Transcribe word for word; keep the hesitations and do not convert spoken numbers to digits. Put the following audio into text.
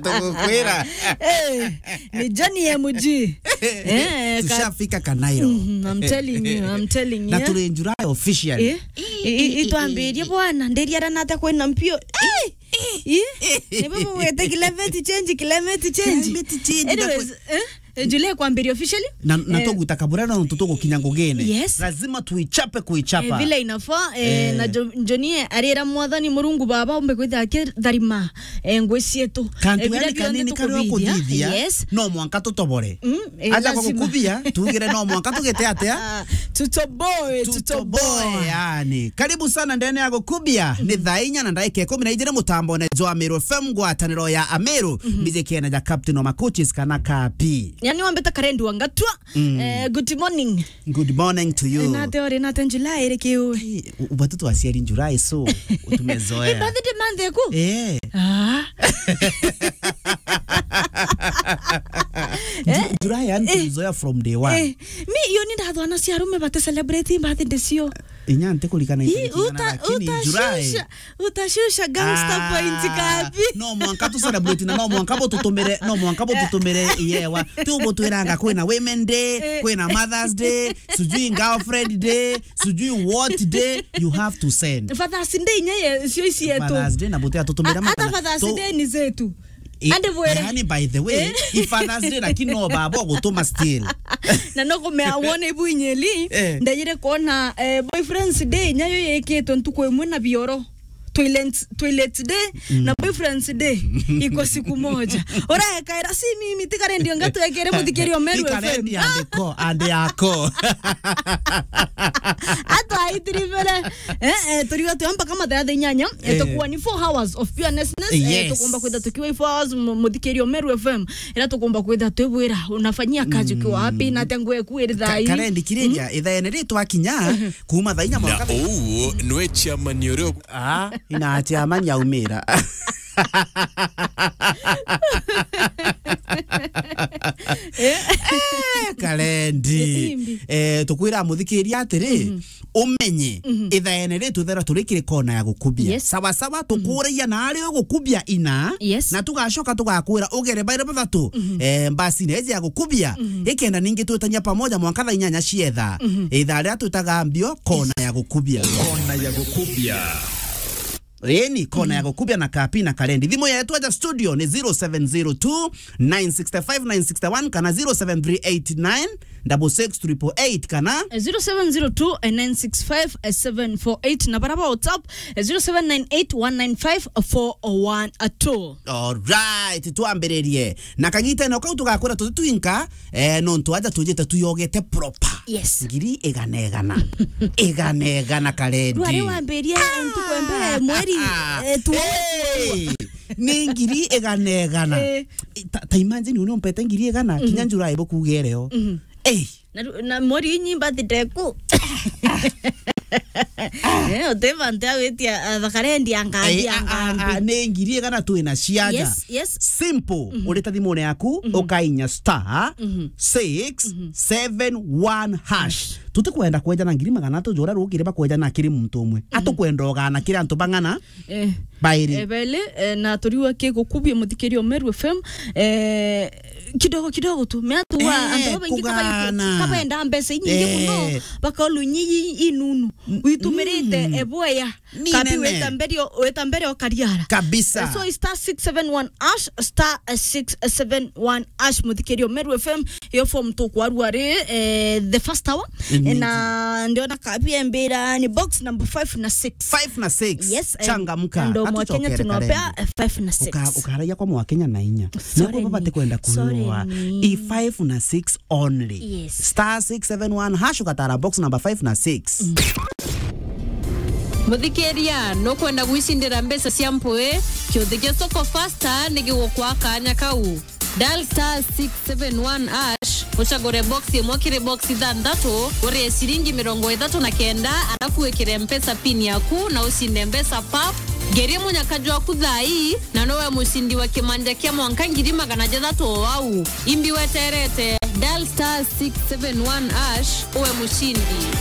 Tugukwira. Eh, ni Johnny M G. Eh, ka- Tushafika Kanairo. Mhm, I'm telling you, I'm telling you. Na turi July officially. Eh? I- i- itwambirie bwana, ndiriara nata kwina mpio. Eh! Eh? Ni baba wete climate change, climate change. Climate change, anyways, ndakwe- eh? Eh, July kwambiria officially. Na, na eh, tuguta kabura na ntu tugukinya ngugine. Yes. Lazima tuichape kuichapa. Eh, vile inafaa, eh, eh, na Jo-, Johnny arira Mwathani Murungu Baba umbe kwithira akitharima, eh, ngui cietu. Kantu eh, vile yani vionthe kanini karia tukuthithia, ukuthithia, yes, no mwanka tutobore. Mm, eh, aja lazima. Gukubia, tugire no mwanka tugite atia? Tutoboe, tutoboe, tutoboe. Yani. Karibu sana ndene ya gukubia. Mhm. Ni thaa inya na ndagika ikumi na ijiri mutambone jwa Meru F M, ngwataniro ya Ameru. Mhm. Mbiji kiene ja Captain wa Macoaches kana Kapi. Yani wambita Karendi wa Ngatwa. Mm. Eh, good morning. Good morning to you. Nate ori nate July iri kiu? Eh, u-, ubatu twaciari July, so tumezoea. Eh, birthday month eku? Eh. Ah. Ju-, July yani eh, tumezoea from day one. Eh, mi iyo ni ndathwa na cia arume bate celebrate birthday cio. Inya ntikurikana. Ii, itariki igana, uta-, lakini July. Utashusha, utashusha gangster point Kapi. Ah, no mwanka tu celebrate na no mwanka bo tutumire, no mwanka bo tutumire iyewa. Tu bo twiranga kwina Women Day, eh, kwina Mother's Day, sijui Girlfriend Day, sijui what day you have to send. Father's Day inya ye, cio ici yetu. Father's Day na bote atutumira. A-, matana. Ata Father's Day ni zetu. I-, ande bwere. Yani, by the way, eh? I Father's Day, lakini no baba gutuma still. Na no kumea wone ibu inyeli, eh, ndejire kuona, eh, Boyfriend's Day, nyayo yeketwe ntuku imwe na bioro. Toilet, toilet day, mm, na Boyfriend's Day iko siku moja. Ora ekaira si mimi, tiga rendi onga twekere muthikirio Meru F M. Ikarendi andiko, ande yako. Atwa aitiri mbere. Eh, eh, turiwa tuya mpaka mathaa thaa inyanya, eh, eh, tukuwa ni four hours of pure niceness, eh, yes, tukumba kwitha tukiwa four hours mu-, muthikirio Meru F M, ira tukumba kwitha twibwira, unafanyia kazi ukiwa wapi, mm, na atia nguo eku iri thaa ii? Ka-, Karendi kiriria, mm, ithaene ri twakinya, mhm, kuma thaa inya na mwanka. Uu nwe chairman uria. Ah, ina chairman yaumira. Eh, Karendi. Imbi. Eh, tukwira muthikiria atiri, mhm, umenye, mhm, ithaene ri tuthera turi kiri kona ya gukubia. Yes. Sawa sawa, mhm, tukuragia na ari ugukubia ina, yes, na tugacoka tugakwira ugere baire bathatu, mhm, eh, mbasine iji ya gukubia, mhm, ikenda ningi twitania pamoja mwanka thaa inyanya cietha. Mhm. Ithaa riria twitaga mbio kona ya gukubia. Kona ya gukubia. Eni, kona ya gukubia na Kapi na Karendi. Thimu yetu aja studio ni zero seven zero two, nine six five, nine six one kana zero seven three eight nine, double six triple eight kana zero seven zero two, nine six five, seven four eight, na bara ba WhatsApp, zero seven nine eight, one nine five, four one two. Alright, twambiririe. Na kagita no kau tugakwira tuti twinka, eh, nontu aja tujite tuyogete proper. Yes. Ngiri igana igana. Igana igana Karendi. Rwari wambirie ntuku ya mbere mweri, eh, tu- Hey! Ni ngiri igana igana. Eh. Ta, ta imagine, uni umpete ngiri igana, mm, kinya July bukuge reo. Mhm. Hey! Na ru-, na mweri inyi birthday ku. Eh, uti bantu ya gwitia, ah, Karendi angambi, eh, ah, ah, angambi. Ah, ni ngiri igana twina ciaja. Yes, yes. Simple. Mhm. Urita thimune yaku, mhm, ukainya star, mhm, six seven one hash. Mhm. Tutikwenda kweja na ngiri magana atatu jora rukire bakweja na kiri muntu umwe. Mhm. Atukwenda ugana kiri antu bang'ana, eh, bairi. Eh, bele, eh, na turiwa kigukubia muthikirio Meru F M, eh, kidogo kidogo tu. Mea tu wa, eh, antu babaingi kugana. Kabaingi, kabenda mbeca inyingi, eh, muno, bakaulu inyi inunu. N-, uitumirite, mm, eboya. Ni Kapi nene. Weta mbere o-, weta mbere o kariara. Kabisa. Eh, so star six seven one hash, star six seven one hash, muthikirio Meru F M, iyo form tukwarua ri, eh, the first hour. Mm. Eh, na ndiona Kapi embira ni box number five na six. Five na six. Yes, eh, changamka. Ndo mwa Kenya atuchokere tunopea, Karendi. Eh, five na six. Uka-, ukaragia kwa mwa Kenya na inya. Sorry. Nabo babate ni-, kwenda sorry kuwa. Ni. I five na six only. Yes. Star six seven one hash ugatara box number five na six. Mm. Muthikiria, nukwenda gwicindira mbeca cia mpui? Kiuthi gia Soko Fasta ni gigukwa kanya kau. Dial star six seven one hash, ucagure box imwe kiri box ithanthatu, urie ciringi mirongo ithatu na kenda, arafu wikire mpesa pin yaku na ucinde mbeca pap. Ngerie munyaka jwaku thaa ii, na nowe mucindi wa kimanja kia mwanka ngiri magana jathatu o au. Imbi weterete, dial star six seven one hash, uwe mucindi.